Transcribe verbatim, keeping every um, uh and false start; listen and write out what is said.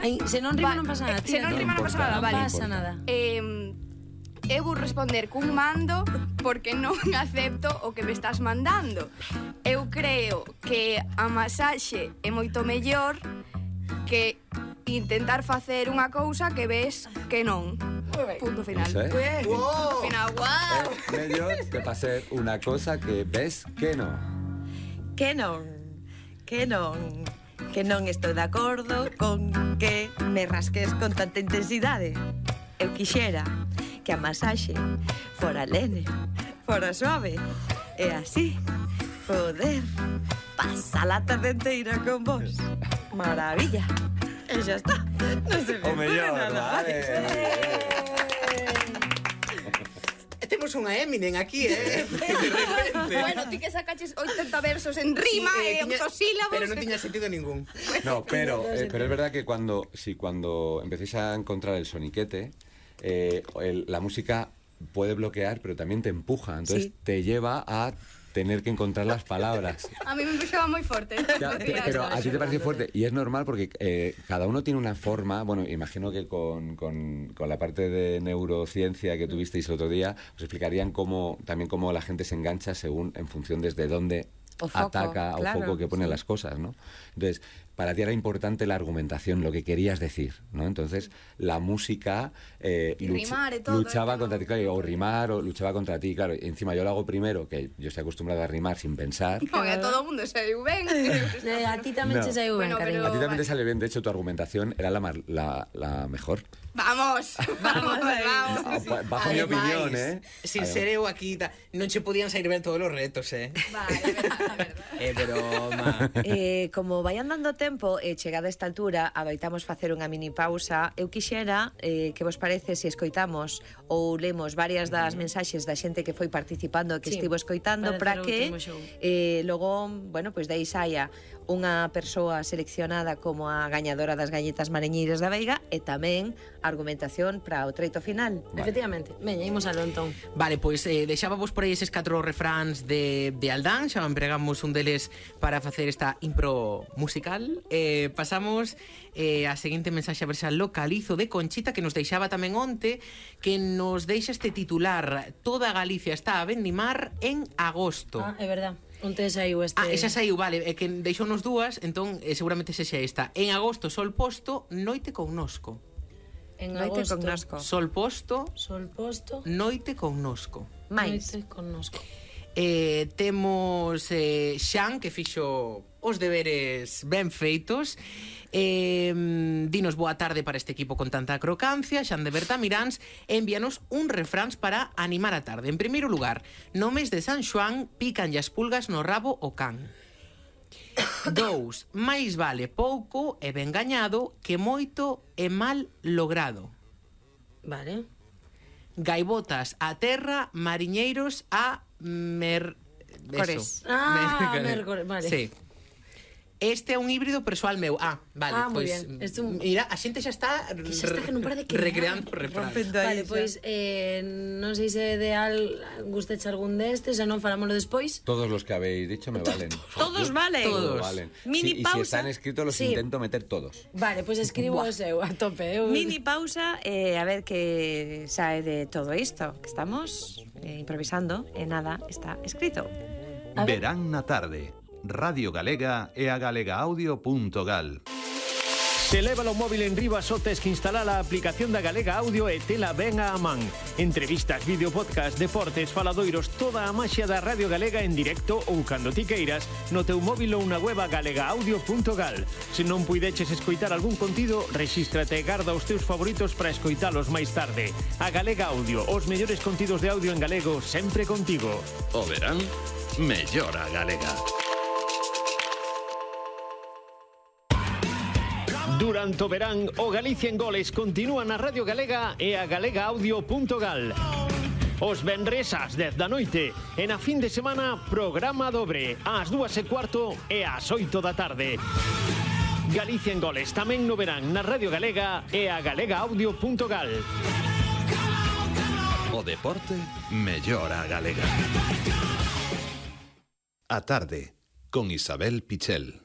Ai, se non rima non pasa nada. Se non rima non pasa nada, vale. Non pasa nada. Eh, eu vou responder cun mando porque non acepto o que me estás mandando. Eu creo que a masaxe é moito mellor que intentar facer unha cousa que ves que non. Punto final. Eso é. Punto final. Wow. É mellor que facer unha cosa que ves que non. Que non, que non, que non estou de acordo con que me rasques con tanta intensidade. Eu quixera que a masaxe fora lene, fora suave, e así poder pasar a tarde inteira con vos. Maravilla. E xa está. Non se me O mellor, nada. vale. Temos unha Eminem aquí, eh? De repente. Bueno, ti que sacaches oitenta versos en rima Sí, e eh, tiña- octosílabos. Pero non tiña sentido ningún. No, pero, eh, pero es verdad que cuando, si cuando empecéis a encontrar el soniquete, eh, el- la música puede bloquear, pero también te empuja. Entonces Sí. te lleva a tener que encontrar las palabras. A mí me empujaba moi forte. Ya, te- pero a ti te parece fuerte y es normal porque eh, cada uno tiene una forma. Bueno, imagino que con, con, con la parte de neurociencia que tuvisteis el otro día os explicarían cómo también cómo la gente se engancha según en función desde dónde O foco, ataca claro, o foco que pone sí. las cosas, ¿no? Entonces, para ti era importante la argumentación, lo que querías decir, ¿no? Entonces, la música eh, Y luch- rimar y todo, luchaba ¿no? contra ti, claro, o rimar, o luchaba contra ti, claro. Y encima yo lo hago primero, que yo estoy acostumbrado a rimar sin pensar. No, a todo o mundo saiu ben. Eh, a ti tamén No. che saiu ben, Bueno, cariño. pero- A ti también te vale. sale bien, de hecho, tu argumentación era la, mar- la, la mejor. Vamos, vamos, vamos. Ah, ba- Bajo mi Ademais, opinión, ¿eh? Sin ser eu aquí, ta- non che podían sair ben todos os retos, eh? Vale, a verdad, a verdad. É broma. Eh, como vai andando o tempo e chegada esta altura abaitamos facer unha mini pausa. Eu quixera eh, que vos parece se escoitamos ou lemos varias das mensaxes da xente que foi participando, que Sí, estivo escoitando, para para hacer o que último show. eh, logo, bueno, pois pues, dai saia unha persoa seleccionada como a gañadora das galletas mareñeiras da Veiga e tamén argumentación para o treito final. Efectivamente. Veña, imos alo entón. Vale, pois eh, deixábamos por aí eses catro refráns de, de Aldán. Xa empregamos un deles para facer esta impro musical. eh, Pasamos eh, a seguinte mensaxe, a ver se a localizo, de Conchita, que nos deixaba tamén onte, que nos deixa este titular: toda Galicia está a vendimar en agosto. Ah, é verdad. Onte saiu este... Ah, esa saiu, vale, é que deixounos dúas, entón eh, seguramente sexa esta. En agosto, sol posto, noite connosco. En Noite agosto. connosco. Sol posto, Sol posto. noite connosco. Mais. Noite connosco. Eh, temos eh, Xan, que fixo os deberes ben feitos. eh, Dinos boa tarde para este equipo con tanta crocancia. Xan de Bertamiráns envíanos un refráns para animar a tarde. En primeiro lugar, no mes de San Xoán pican as pulgas no rabo o can. Dous, máis vale pouco e ben gañado que moito e mal logrado. Vale. Gaivotas a terra, mariñeiros a mer... Cores. Eso. Ah, Mer- mércores, vale. Sí. Este é un híbrido persoal meu. Ah, vale, Ah, moi pois bien. Este un- mira, a xente xa está, Que xa está que non para de crear. recreando o refrán. Rompendo aí, Vale, xa. pois eh, non sei se é ideal gusteche algún destes, se non falámoslo despois. Todos los que habéis dicho me valen. Todos valen. Todos. Valen. Mini Sí, y si pausa. están escritos los Sí. intento meter todos. Vale, pois escribo o seu a tope. Eu... Mini pausa e a ver que sae de todo isto, que estamos eh, improvisando e nada está escrito. Verán na tarde. Radio Galega e a galegaaudio.gal. Se leva o móvil en riba só tes que instalar a aplicación da Galega Audio e tela ben a man. Entrevistas, vídeo, podcast, deportes, faladoiros, toda a maxia da Radio Galega en directo ou cando ti queiras no teu móvil ou na web a galegaaudio punto gal. Se non puideches escoitar algún contido, rexístrate e garda os teus favoritos para escoitalos máis tarde. A Galega Audio, os mellores contidos de audio en galego sempre contigo. O verán, mellora galega. Durante o verán, o Galicia en Goles continúa na Radio Galega e a galegaaudio punto gal. Os venres ás dez da noite e na fin de semana programa dobre ás dúas e cuarto e ás oito da tarde. Galicia en Goles tamén no verán na Radio Galega e a galegaaudio punto gal. O deporte mellora galega. A tarde, con Isabel Pichel.